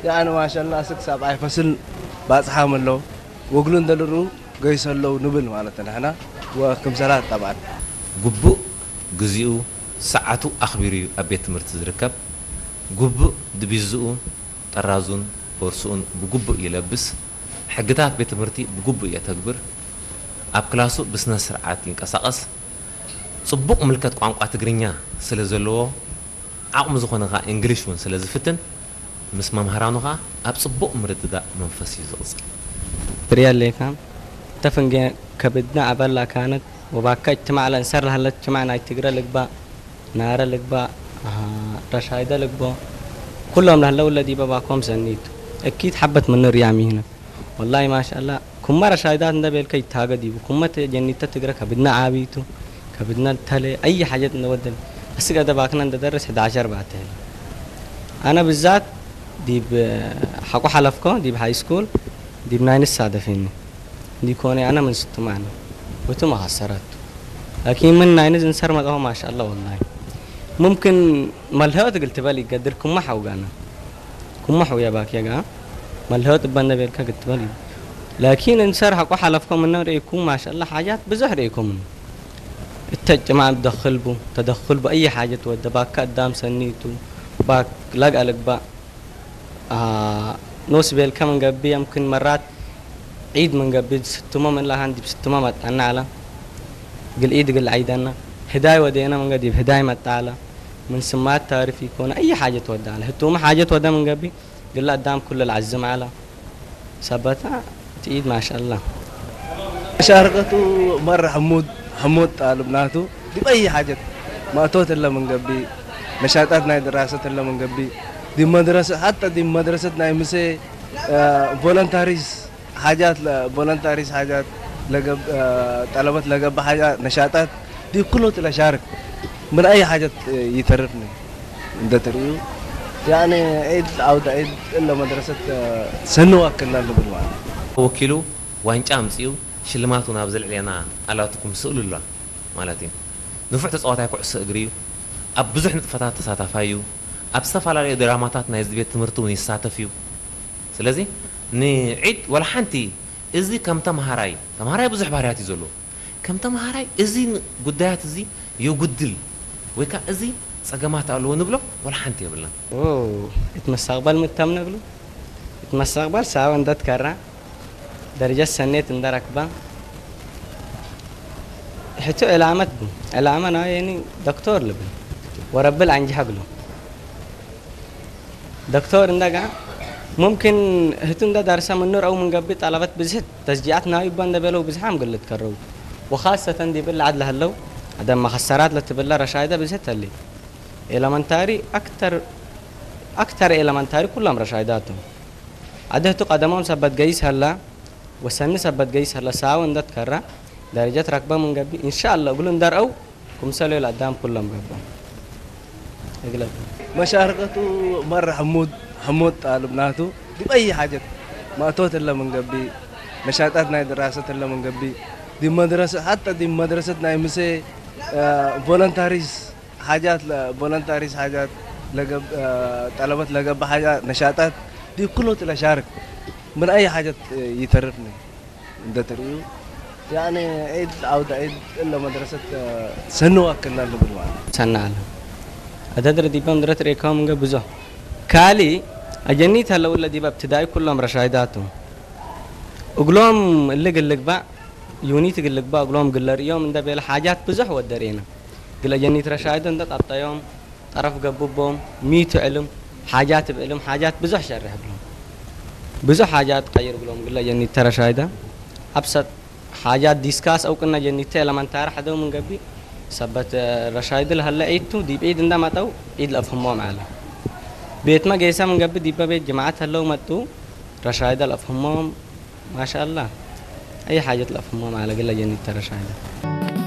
ያእነ ማሻላ ስክ ሳብዓይ ፈስል ባጽሓም ኣለዉ። ወግሉ እንደልሩ ገይሰ ኣለዉ ንብል ማለት ንሕና ወክምሰላት ጠብዓን። ግቡእ ግዜኡ ሰዓቱ ኣኽቢሩ እዩ ኣብ ቤት ትምህርቲ ዝርከብ። ግቡእ ድቢዝኡ፣ ጠራዙን ቦርሱኡን ብግቡእ ይለብስ። ሕግታት ቤት ትምህርቲ ብግቡእ የተግብር። ኣብ ክላሱ ብስነ ስርዓት ይንቀሳቐስ። ጽቡቕ ምልከት ቋንቋ ትግርኛ ስለ ዘለዎ ዓቕሚ ዝኾነ ከኣ እንግሊሽ እውን ስለ ዝፍትን ምስ መምሃራኑ ከኣ ኣብ ጽቡቕ ምርድዳእ መንፈስ እዩ ዝቕጽል። بريال ليكام تفنجي كبدنا عبلا كانت وباكا اجتماع لانسر لهلا اجتماع ناي تقرا لقبا نارا لقبا آه رشايدا لقبا كلهم لهلا ولا ديبا باكوم سنيت اكيد حبت من ريامي هنا والله ما شاء الله كم مرة شايدات ندا بيلكا يتاقا ديبو كم مرة جنيتا تقرا كبدنا عابيتو كبدنا تلي اي حاجة نودن بس قاعدة باكنا ندرس احدعش اربعة تلي انا بالذات ديب حقو حلفكو ديب هاي سكول ديب ناين السادة فيني دي كوني انا من ستو معنا وتو ما خسرت لكن من ناين زنسر ما ما شاء الله والله ممكن ملهوت قلت بالي قدركم ما حوقانا كم حويا باك يا جا ملهوت بنا بيلكا قلت بالي لكن انسر حقو حلفكم من ريكم ما شاء الله حاجات بزح ريكم التجمع تدخل بو تدخل بأي حاجة تود باك قدام سنيتو باك لاق ألق با آه نوس بيل كمن قبي يمكن مرات عيد من قبي ستما من لهان دي بستما متعنا على قل عيد قل عيدنا هداي ودينا من قديب هداي متعالى من سمات تعرف يكون أي حاجة تود على هتوما حاجة تود من قبي قل قدام كل العزم على ሰበታ እቲ ኢድ ማሻላ ሻርቀቱ መራ ሕሙድ ሕሙድ ጣልብ ናቱ ዲብ ኣይ ሓጀት ማእቶት እለ ምን ገቢ ነሻጣት ናይ ድራሰት እለ ምን ገቢ ዲብ መድረሰ ሓታ ዲብ መድረሰት ናይ ምሰ ቮለንታሪስ ሓጃት ቮለንታሪስ ሓጃት ጠለበት ለገብ ሓጃ ነሻጣት ዲብ ኩሎት ለሻርክ ምን ኣይ ሓጀት ይተርፍኒ እንደ ትርእዩ ያኔ ዒድ ዓውደ ዒድ እለ መድረሰት ሰኒ ዋክልና ንብል ማለት ወኪሉ ዋንጫ ኣምጺኡ ሽልማት እውን ኣብ ዘልዕለና ኣላትኩም ስእሉ ኣሎ ማለት እዩ። ንፉዕ ተጻዋታይ ኩዕሶ እግሪ እዩ። ኣብ ብዙሕ ንጥፈታት ተሳታፋይ እዩ። ኣብ ዝተፈላለዩ ድራማታት ናይ ቤት ትምህርቲ እውን ይሳተፍ እዩ። ስለዚ ንዒድ ወላ ሓንቲ እዚ ከም ተምሃራይ ተምሃራይ ብዙሕ ባህርያት እዩ ዘለዎ። ከም ተምሃራይ እዚ ጉዳያት እዚ የጉድል ወይ ከዓ እዚ ፀገማት ኣለዎ ንብሎ ወላ ሓንቲ የብልና። እቲ መስተቕበል ምተም ነግሉ እቲ መስተቕበል ሳበ እንደትከራ ደረጃ ሰኔት እንደረክባ ሕቱ ዕላመት ቡ ዕላመ ናየኒ ዶክተር ልብል ወረብል አንጅሃ ብሎ ዶክተር እንደጋ ممكن ህቱ እንደ ዳርሳ ምኑር አው ምንገቢ ጠለበት ብዝህት ተስጂዓት ናዊ እባ እንደበለው ብዝሓም ግልት ከረው وخاصة ዲብል ዓድ ለህለው ኣደ መኸሰራት ለትብለ ረሻይደ ብዝህት ተሊ ኤለመንታሪ ኣክተር ኣክተር ኤለመንታሪ ኩሎም ረሻይዳቱ ኣደ ህቱ ቀደሞም ሰበት ገይስ ሀላ ወሰኒ ሰበት ገይስ ሀላ ሳው እንደት ከራ ደረጀት ረክበ ምንገቢ ኢንሻአላ እግሉ እንደርአው ክምሰሉ ለአዳም ኩሎም ገብኦም እግለብ መሻርቀቱ መራ ሕሙድ ሕሙድ ጣልብ ናቱ ዲብ ኣይ ሓጀት ማእቶት እለ ምን ገቢ ነሻጣት ናይ ድራሰት እለ ምን ገቢ ዲብ መድረሰ ሓታ ዲብ መድረሰት ናይ ምሰ ቮለንታሪስ ሓጃት ለ- ቮለንታሪስ ሓጃት ለገብ ጠለበት ለገብ ሓጃ ነሻጣት ዲብ ኩሎት ለሻርክ ምን ኣይ ሓጀት ይተርፍኒ እንደ ትርእዩ ያኔ ዒድ ዓውደ ዒድ እለ መድረሰት ሰኒ ዋክልና ንብል ማለት ሰና ኣለ ኣደድረ ዲበም ድረት ሬካው ምንገ ብዙ ካሊ ኣጀኒት ኣለውለ ዲበ እብትዳይ ኩሎም ረሻይዳቱ እግሎም እልግ እልግባእ ዩኒት እግልግባእ እግሎም ግለርእዮም እንደ ቤለ ሓጃት ብዙሕ ወደርኤና ግለ ጀኒት ረሻይዶ እንደ ጣጣዮም ጠረፍ ገብቦም ሚቱ ዕልም ሓጃት ብዕልም ሓጃት ብዙሕ ሸርሕ ብሎም ብዙሕ ሓጃት ቀይር ብሎም ግለ ጀኒት ተረሻይዳ ኣብሰጥ ሓጃት ዲስካስ እውቅና ጀኒተ ኤለመንታሪ ሓደው ምን ገቢ ሰበት ረሻይድ ለሀለ ዒድቱ ዲብ ዒድ እንደ መጠው ዒድ ለፍህሞም ዓለ ቤትመ ጌሰ ምን ገቢ ዲበ ቤት ጅማዓት ሀለው መጡ ረሻይደ ለፍህሞም ማሻአላ አይ ሓጀት ለፍህሞም ዓለ ግለ ጀኒተ ረሻይደ